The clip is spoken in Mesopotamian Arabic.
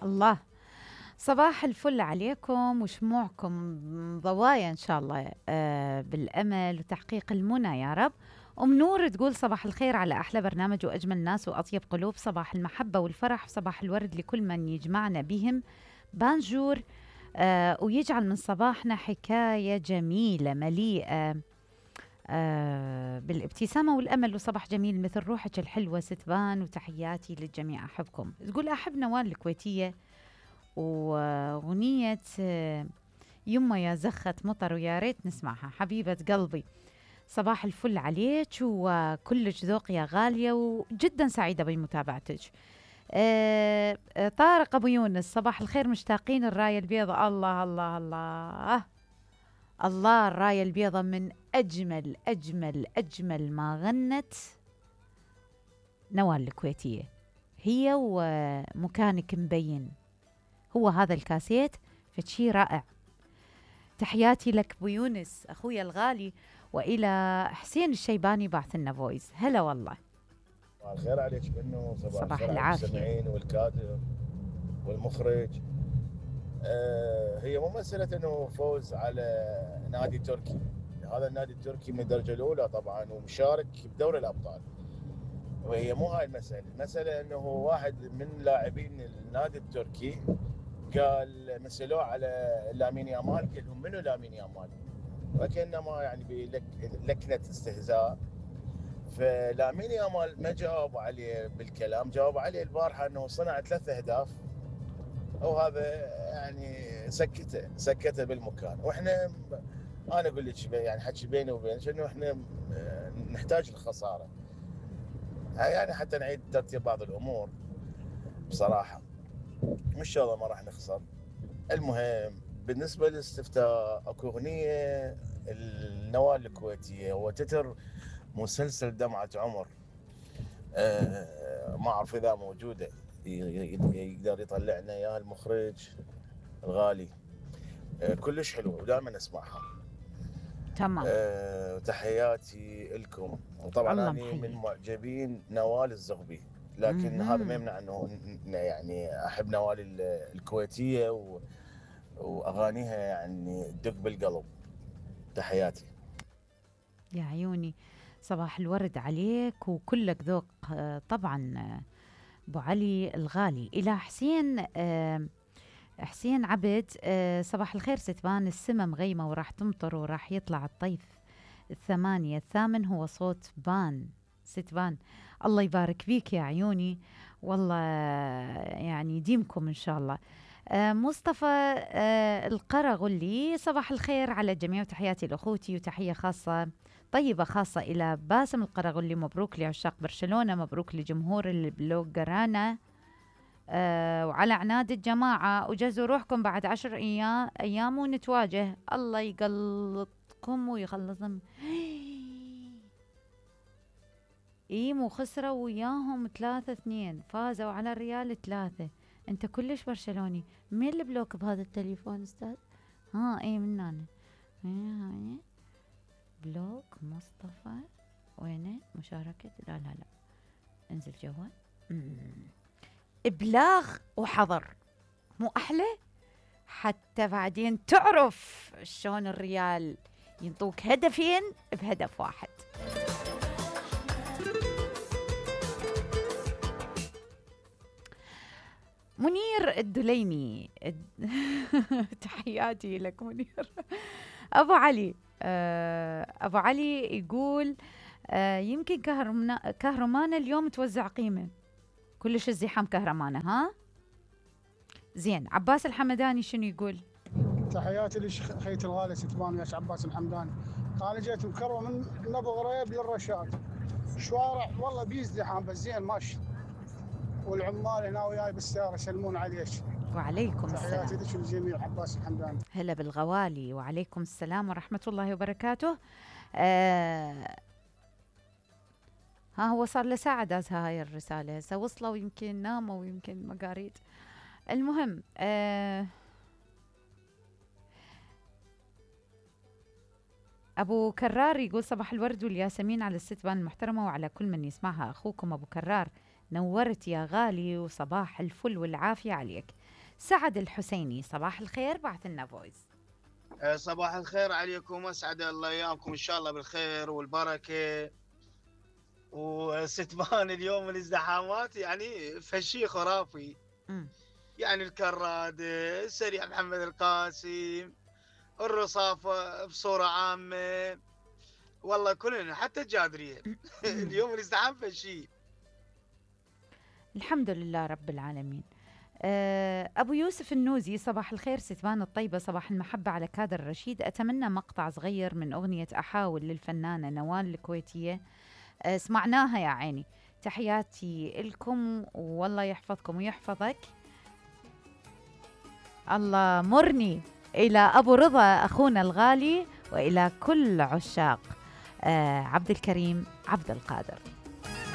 الله. صباح الفل عليكم وشموعكم ضوايا إن شاء الله بالأمل وتحقيق المنى يا رب. أم نور تقول صباح الخير على أحلى برنامج وأجمل ناس وأطيب قلوب، صباح المحبة والفرح وصباح الورد لكل من يجمعنا بهم. بانجور ويجعل من صباحنا حكاية جميلة مليئة بالابتسامة والأمل وصباح جميل مثل روحك الحلوة ستبان، وتحياتي للجميع أحبكم. تقول أحب نوال الكويتية وأغنية يما يا زخت مطر ويا ريت نسمعها حبيبة قلبي. صباح الفل عليك وكلش ذوق يا غالية وجدا سعيدة بمتابعتك. طارق أبو يونس صباح الخير، مشتاقين الراية البيضاء. الله الله الله الله، الراية البيضاء من أجمل أجمل أجمل ما غنت نوال الكويتية، هي ومكانك مبين، هو هذا الكاسيت فشي رائع. تحياتي لك ابو يونس اخويا الغالي، والى حسين الشيباني بعث لنا فويس. هلا والله. صباح الخير عليك بنو، صباح الخير على العافية. المستمعين والكادر والمخرج. هي مو مسألة انه فوز على نادي تركي، هذا النادي التركي من الدرجة الأولى طبعا ومشارك بدوري الأبطال، وهي مو هاي المسألة انه واحد من لاعبين النادي التركي قال مثلوه على لامين يامال، قال لهم منو لامين يامال، وكأنما يعني بلكنة استهزاء. فلامين يامال ما جاوب عليه بالكلام، جاوب عليه البارحة انه صنع 3 أهداف، وهذا يعني سكته بالمكان. واحنا انا اقول لك يعني حكي بيني وبينك انه احنا نحتاج الخساره يعني حتى نعيد ترتيب بعض الامور. بصراحه مش شاء الله ما راح نخسر. المهم بالنسبه للاستفتاء، اكو اغنيه النوال الكويتيه هو تتر مسلسل دمعه عمر، ما اعرف اذا موجوده يقدر يطلع لنا اياها المخرج الغالي. كلش حلوه ودائما اسمعها. تمام. تحياتي لكم. وطبعا الله انا من محييك. معجبين نوال الزغبي، لكن هذا ما يمنع انه يعني احب نوال الكويتيه واغانيها يعني تدق بالقلب. تحياتي. يا عيوني صباح الورد عليك وكلك ذوق. طبعا ابو علي الغالي. الى حسين حسين عبد صباح الخير ستبان، السما مغيمة وراح تمطر وراح يطلع الطيف 8 الثامن، هو صوت بان ستبان. الله يبارك فيك يا عيوني، والله يعني يديمكم إن شاء الله. مصطفى القرغلي صباح الخير على الجميع وتحياتي لأخوتي، وتحية خاصة طيبة خاصة إلى باسم القرغلي. مبروك لعشاق برشلونة، مبروك لجمهور البلوغرانا، وعلى عناد الجماعة، وجهزوا روحكم بعد 10 أيام ونتواجه. الله يقلطكم ويخلصهم. مو خسروا وياهم 3-2، فازوا على الريال 3. انت كلش برشلوني. مين اللي بلوك بهذا التليفون استاذ؟ من انا هاي بلوك مصطفى. وينه مشاركة؟ لا انزل جوال. ابلاغ وحظر مو احلى؟ حتى بعدين تعرف شلون الريال ينطوك هدفين بهدف واحد. منير الدليمي تحياتي لك منير. ابو علي ابو علي يقول يمكن كهرمانة اليوم توزع قيمة، كلش الزحام كهرمانة. ها زين. عباس الحمداني شنو يقول؟ تحياتي لخيت الغالي ستبان يا عباس الحمداني. انا جيت مكروه من نبو غريب للرشاد، شوارع والله بيزدحام بس زين ماشي، والعمال هنا وياي بالسياره يسلمون عليك. وعليكم السلام. تحياتي لك الجميع. عباس الحمداني. هلا بالغوالي. وعليكم السلام ورحمة الله وبركاته. ها هو صار له ساعة دازها هاي الرسالة، هسه وصلوا ويمكن ناموا ويمكن ما قاريت. المهم أبو كرار يقول صباح الورد والياسمين على الستبان المحترمة وعلى كل من يسمعها. أخوكم أبو كرار، نورت يا غالي وصباح الفل والعافية عليك. سعد الحسيني. صباح الخير، بعث لنا فويس. صباح الخير عليكم، اسعد الله ايامكم ان شاء الله بالخير والبركه. وستبان اليوم الازدحامات يعني فشي خرافي. يعني الكراد، السريع محمد القاسم، الرصافه بصوره عامه، والله كلنا حتى الجادريه. اليوم الازدحام فشي. الحمد لله رب العالمين. أبو يوسف النوزي. صباح الخير ستبان الطيبة، صباح المحبة على كادر رشيد. أتمنى مقطع صغير من أغنية أحاول للفنانة نوال الكويتية. سمعناها يا عيني. تحياتي لكم والله يحفظكم ويحفظك. الله مرني إلى أبو رضا أخونا الغالي وإلى كل عشاق عبد الكريم عبد القادر.